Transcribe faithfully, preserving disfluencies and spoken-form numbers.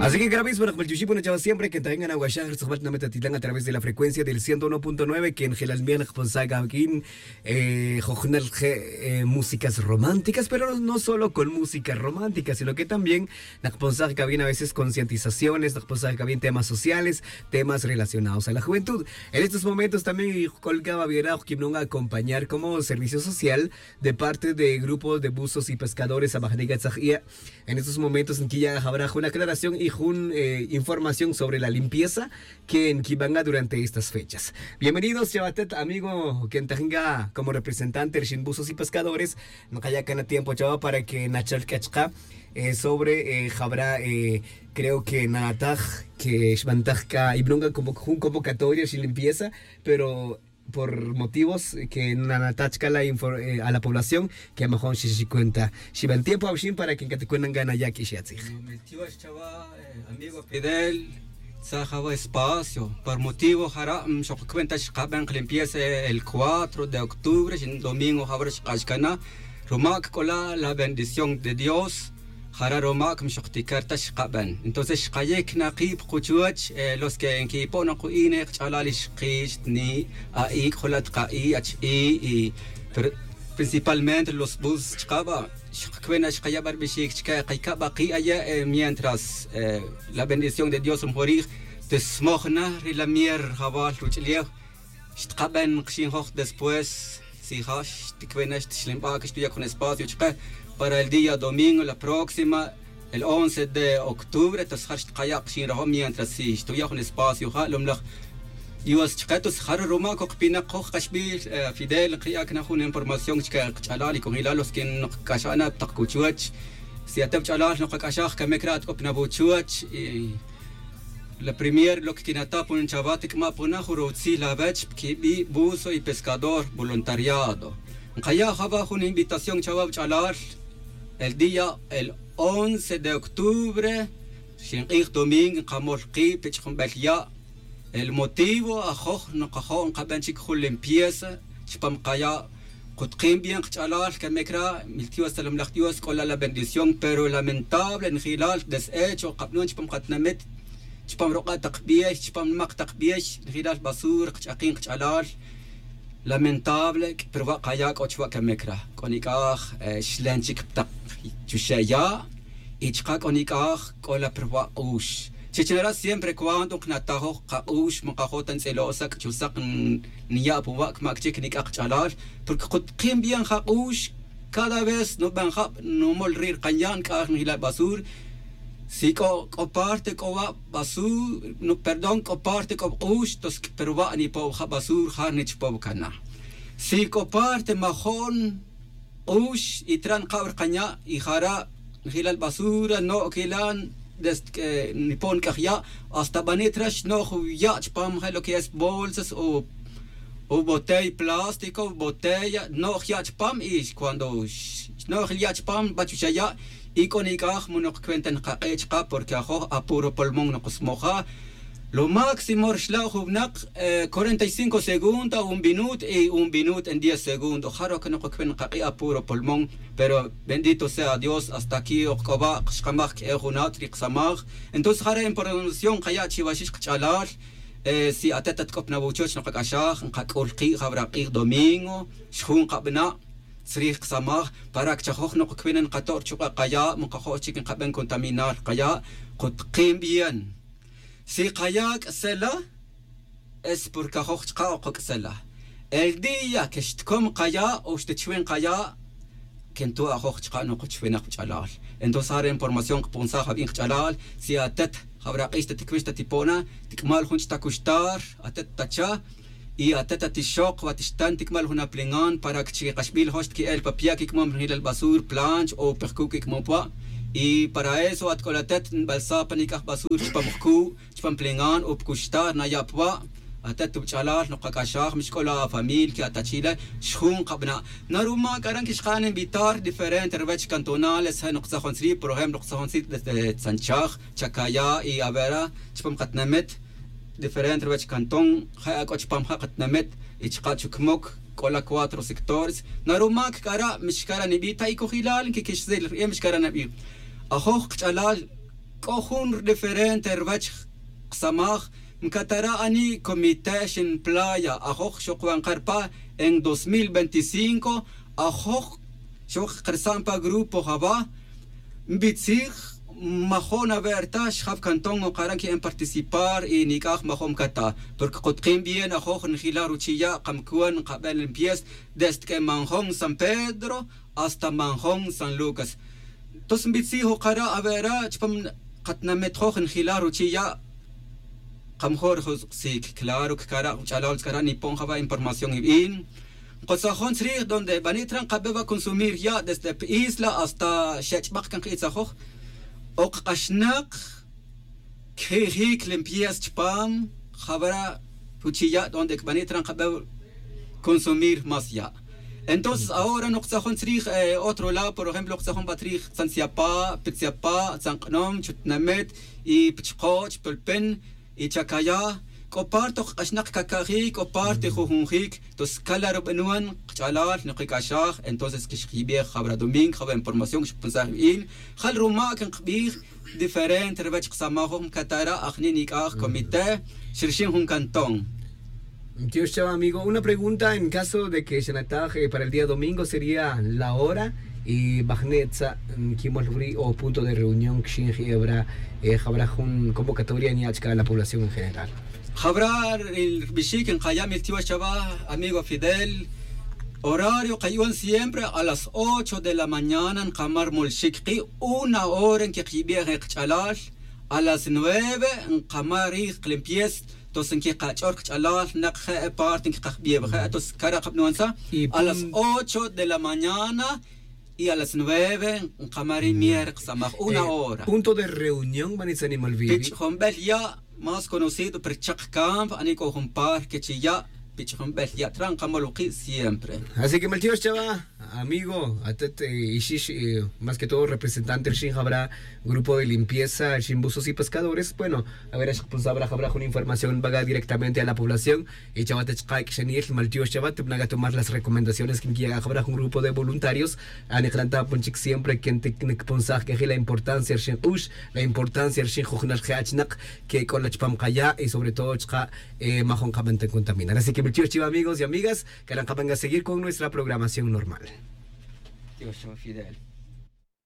Así que gracias por escuchar, bueno, chaval, siempre que tengan agua, ya se va a tener a través de la frecuencia del ciento uno punto nueve, que en Gelal Miel, responsable, eh, jornal, eh, músicas románticas, pero no solo con música romántica, sino que también nos pone que viene a veces concientizaciones, nos pone que viene temas sociales, temas relacionados a la juventud. En estos momentos también colgaba Viera, que no acompañar como servicio social de parte de grupos de buzos y pescadores, Abajaniga Tzajía. En estos momentos, en que ya habrá una aclaración y una, eh, información sobre la limpieza que en Kibanga durante estas fechas. Bienvenidos, Chabatet, amigo, que tenga como representante de Shin Buzos y Pescadores, no haya cana tiempo, chava, para que Nachal Kachka, eh, sobre, eh, habrá, eh, creo que Nataj, que Shbantajka, y Brunga como un convocatoria, Shin Limpieza, pero por motivos que nanatachka la infor-, eh, a la población que a lo mejor si se cuenta. Si va el tiempo, Aushin, para que te cuentan gana ya que se hace. Miltiwa chava, eh, amigo Fidel, saja va espacio. Por motivo, jara, mm, xok cuenta xkaben limpieza el cuatro de octubre, sin domingo, jabra xkashkana. Rumak kola la bendición de Dios. Jara roma' que mixoqticar ta xkaben. Entonces xkayic na kib kuchuwach, eh, los que en quipo'na ku'ine kch'alal xkix ni a'i k'olat ka'i ach i y pero principalmente los bus chkaba xkakbena xkayaba rbixic chke kaycaba ki aye, eh, mientras, eh, la bendición de Dios mjorij te smojna ri la mier jawal ruch'liew. Xtkaben kxinjoj después, si ja xtikbena xtixlinba que xtuya jun espacio chke para el día domingo la próxima, el once de octubre. Entonces ja xtkaya kxinrajo mientras si xtuya jun espacio ja lomlaj dios chke. Entonces ja roma kokpina koj kaxbil, eh, Fidel, kiya kna jun información chke kch'alal y kojilal los que nokc'axana tak kuchuwach. Si ateb ch'alal nokac'axaj kamic ra atk'opna vuchuwach y la premier lo que quinata pon chava tik'ma pona jun rutzil avech quibi buzo y pescador voluntariado. Nkaya java jun invitación chava ch'alal el día el once de octubre, xink'ij domingo nkamol kib pech jun bel ya'. El motivo ajoj nkajo' nkaben chic jun limpieza chupam kaya'. Kutkin bien kch'alal kamic ra miltiwa stalomlaj dios k'ola la bendición pero lamentable njilal deshecho kabnon chupam katinamit, chupam ruk'a' tak biex, chupam nimak tak biex, njilal basura kch'akin kch'alal. Lamentable pero wa' kaya' k'o chuwa' kamic ra k'o nik'aj, eh, xlen chic tak chuxe' ya'. Y chka' k'o nik'aj k'ola pero wa' k'ux chich nara' siempre cuando knatajoj kak'ux makajo' ta ntz'ilo' sak' chusak. Niya' puwa' kmac chic nik'aj kch'alal porque kutkin bien jak'ux. Cada vez nuben jab numol ri' rkanya' nk'aj njilal basur. Si k'o k'o parte k'o wa' basur, perdón, k'o parte k'o bk'ux tos pero wa' nipow jab basur ja nichpow kana. Si k'o parte majo'n k'ux y tra' nkab rkanya' y jara' njilal basura no'k ila desde que nipon nk'aj ya'. Hasta bani' tra' xno'j ya' chupam je' lo que es bolsas o o botey plástico botey no'j ya' chupam y cuando xno'j ya' chupam bachuxa ya'. Y k'o nik'aj munok cuenta nkak'e' chka porque ajoj apuro polmón nokosmoja. Lo máximo rxla' jun winak, eh, cuarenta y cinco segundos un minuto y un minuto en diez segundos ja roke nokokben nkak'e' apuro polmón. Pero bendito sea dios hasta aquí ok k'o wa' xkamaj k'e jun at ri ksamaj. Entonces jare' información kaya' chiwaxix kch'alal. Eh, si atet atk'op na wuchoch nkak'axaj nkak'ul ki' jawra' k'ij domingo xjun nkabana' tzrij ksamaj para kchajoj nokokbin nkato'r chuk'a' kaya' mokajo' chic nkaben contaminar kaya'. Kutkin bien si kaya' k'sela es porque ajoj chka' okok'sela. El día que xtkom kaya' o xtachwin kaya' que nto' ajoj chka' nokochwinak kch'alal. Entonces ja re información kponsaj abin kch'alal si atet jawra' k'ix ta tikbix ta tipona tik'mal jun ch'ta kuxtar atet tacha. Y atet atixok wa tixtan tik'mal jun aplingan para que chi kaxbil jox tki'el pa pya' kik'mom rijilal basur planch o pejku' kik'mom pwa'. Y para eso atk'ol atet nbalsa pa nik'aj basur chupam jku' chupam plingan o pkuxtar naya' pwa'. Atet tubch'alal nokak'axaj mixk'ol afamil que atachile xjun kabana'. Naruma' k'aran que xkan invitar diferente ruwech cantonales je' noktzajon tzri' por ejemplo noktzajon tzri' desde tzanchaj chakaya' y avera chupam katinamit diferente ruwech cantón. Je' ak'o chupam ja' katinamit y chaka' chukmok k'ola cuatro sectores. Naruma' kk'ara' mixkara' nibi' ta ikojilal nkikixsil rib'e mixkara' nibi'. Ajoj kch'alal c'o jun diferente ruwech kasamaj. Mcatara' ani comité xin playa ajoj xoc wan karpa en dos mil veinticinco. Ajoj xoc karsan pa grupo jaba. Nbitzij majo' nawe'rta xjaw cantón o kara' nqui'en participar y nic'aj majo' mcata. Porque kutkin bien ajoj njila' ruchi' ya' kamcuen nkaben limpies desde que manjon san pedro hasta manjon san lucas. Tos nbitzij o kara' awe'ra' chupam katnamet joj njila' ruchi' ya'. Kamjo' rujosq'sic claro que kara' ch'alal tz'ara' nipon jaba' información ibin. Nkotzajon tzrij donde bani' tra' nkabe wa' consumir ya' desde pa isla hasta xech'bak can kaitzajoj. Ok k'axnak kjijic limpies chupam jawara' puchi' ya' donde cbani' tra' nkabe consumir más ya'. Entonces ahora noktz'ajon tzrij otro lado por ejemplo noktz'ajon ba tzrij tzan tziapa' pitziapa' tzan k'nom chutnamet y pichkoch' pulpin y chacaya. C'o parte ok k'axnak caca'jic c'o parte jujunjic. Entonces cala rubanon kach'alal nokic'axaj entonces que xkiyibej jawra domingo jawra información xkpunsaj ibin. Jal ruma' que nkbij diferente ruwech kasamaj joj mcatara' ajni' nic'aj comité xrixin jun cantón. Tiox chawa amigo una pregunta en caso de que xanataj para el día domingo sería la hora y bajne'tza nquimol wuri' o punto de reunión quixin je'e wara' jawra jun convocatoria nya' chca la población en general. Jawra' ribixic nkaya' miltiox chawa amigo fidel. Horario kayu'un siempre a las ocho de la mañana nkama' rmolxic ki' una hora nquikiyibej kach'alal. A las nueve nkama' rij klimpies. Tos nquikach'or kach'alal nak je' parte nquikajbiyew je' tos cara' kabnuansa a las ocho de la mañana y a las nueve nkama' ri mier kasamaj una hora. Punto de reunión bani tzanimal vivi pich'jonbel ya' más conocido pero chak campo ani c'o jun parque chi ya' pich'jonbel ya' tra' nkamol wiki' siempre. Así que maltiox chawa amigo atet ixix más que todo representante rixin jabra grupo de limpieza rixin buzos y pescadores bueno. A ver xkponsabra jabra jun información baga directamente a la población. Y chawa ta chka' k'ixanil maltiox chawa tibna gatomar las recomendaciones que nkiya' jabra jun grupo de voluntarios. Anik'lan ta pon chik siempre que ntikponsaj k'eji la importancia rixin k'ux la importancia rixin jujunal je' achinak que k'ola chupam kaya' y sobre todo chka' majon kaban ta contaminar así que maltiox chiwa amigos y amigas. Karan kaban ka seguir con nuestra programación normal. Tiox chawa fidel.